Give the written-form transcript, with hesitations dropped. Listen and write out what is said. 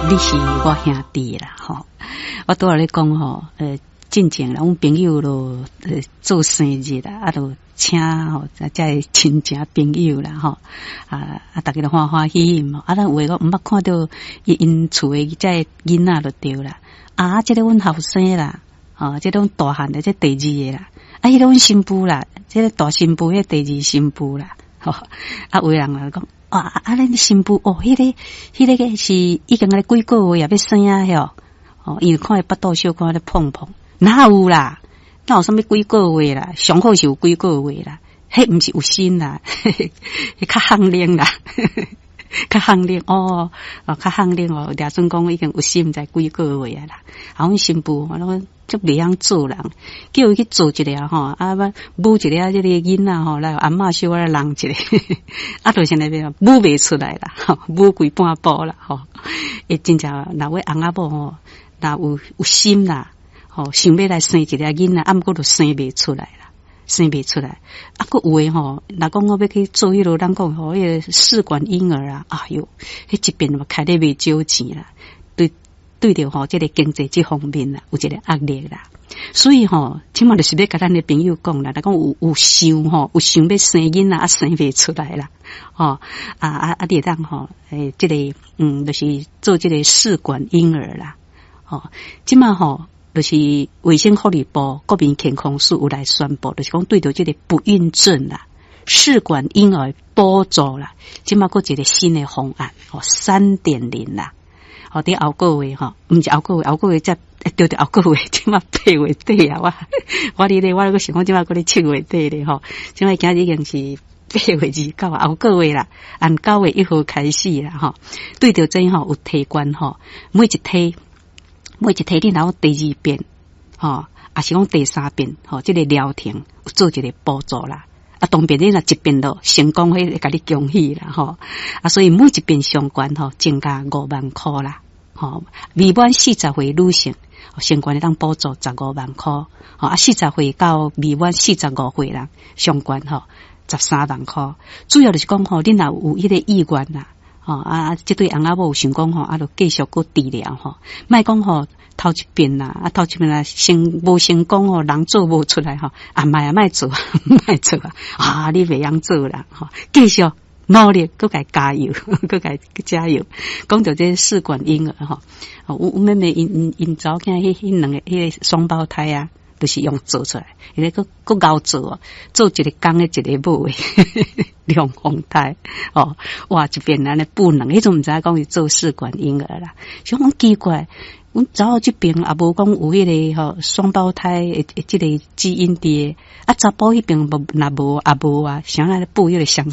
你是我兄弟啦，吼！我拄仔咧講吼，進前啦，阮朋友囉做生日啦，啊，就請吼，遮個親情朋友啦，吼，啊啊，逐家都歡歡喜喜嘛。啊，咱有的我毋捌看著𪜶𪜶厝的遮个囡仔就對啦。啊，這個阮後生啦，吼，這個阮大漢的，這第二个啦。啊，彼個阮新婦啦，這個大新婦，彼個第二新婦啦。吼，啊，有的人來講。啊啊！恁新婦哦，彼個是已經咧幾個月也欲生啊？吼哦，因為看伊腹肚小可咧膨膨，哪有啦？哪有啥物幾個月啦？上好是有幾個月啦，彼毋是有心啦，彼較罕冷啦，較罕冷哦，哦，較罕冷哦。掠準講已經有心在幾個月啊啦。啊，阮新婦我攏足袂曉做人，叫伊去做一下吼，啊，母一下這个囡仔吼，來阿嬤小可來弄一下，啊，就是那邊母袂出來啦，母規半步啦，吼。會真正若欲翁仔某吼，若有心啦，吼，想欲來生一個囡仔，啊，毋過就生袂出來啦，生袂出來。啊，閣有的吼，若講我欲去做彼落，咱講吼，彼个試管嬰兒啊，哎喲，彼一遍嘛開得袂少錢啦，對。對著吼，這个經濟這方面啦，有一个壓力啦。所以吼，這馬就是欲共咱的朋友講啦，若講有想吼，有想欲生囡仔啊，生袂出來啦，吼啊啊啊！你會當吼，欸，這个就是做這个試管嬰兒啦，吼，這馬吼，就是衛生福利部國民健康署有來宣布，就是講對著這个不孕症啦，試管嬰兒補助啦，這馬閣一个新的方案，吼，3.0啦。哦，佇後個月吼，毋是後個月，後個月才對對後個月，這馬8月底啊！我佇咧，我閣想講這馬閣咧7月底咧吼，這馬今日已經是8月29啊，後個月啦，按9月1號開始啦吼。對著這吼有提懸吼，每一梯每一梯你若有第二遍吼，抑是講第三遍吼，這个療程有做一个補助啦。啊，當然你若一遍就成功，彼會共你恭喜啦吼。啊，所以每一遍上懸吼增加5萬箍啦。吼，未滿40歲女性，上懸會當補助15萬箍。吼啊，40歲到未滿45歲人，上懸吼13萬箍。主要就是講吼，你若有彼個意願啦，吼啊，這對翁仔某有想講吼，啊，就繼續閣治療吼，莫講吼頭一遍啦，啊頭一遍啊成無成功吼，人做無出來吼，啊莫啊莫做，莫做啊，啊你袂曉做啦，吼，繼續。努力，閣共加油，閣共加油。講著這試管嬰兒吼，阮妹妹𪜶𪜶𪜶查某囝彼兩个彼个雙胞胎啊，就是用做出來，伊個閣閣𠢕做，做一个公的，一个母的龍鳳胎哦，哇！一遍按呢哺兩，彼陣毋知影講是做試管嬰兒啦，想講奇怪，阮查某這邊也無講有彼個吼雙胞胎的這个基因佇，啊查埔彼邊無若無也無啊，啥來哺彼個雙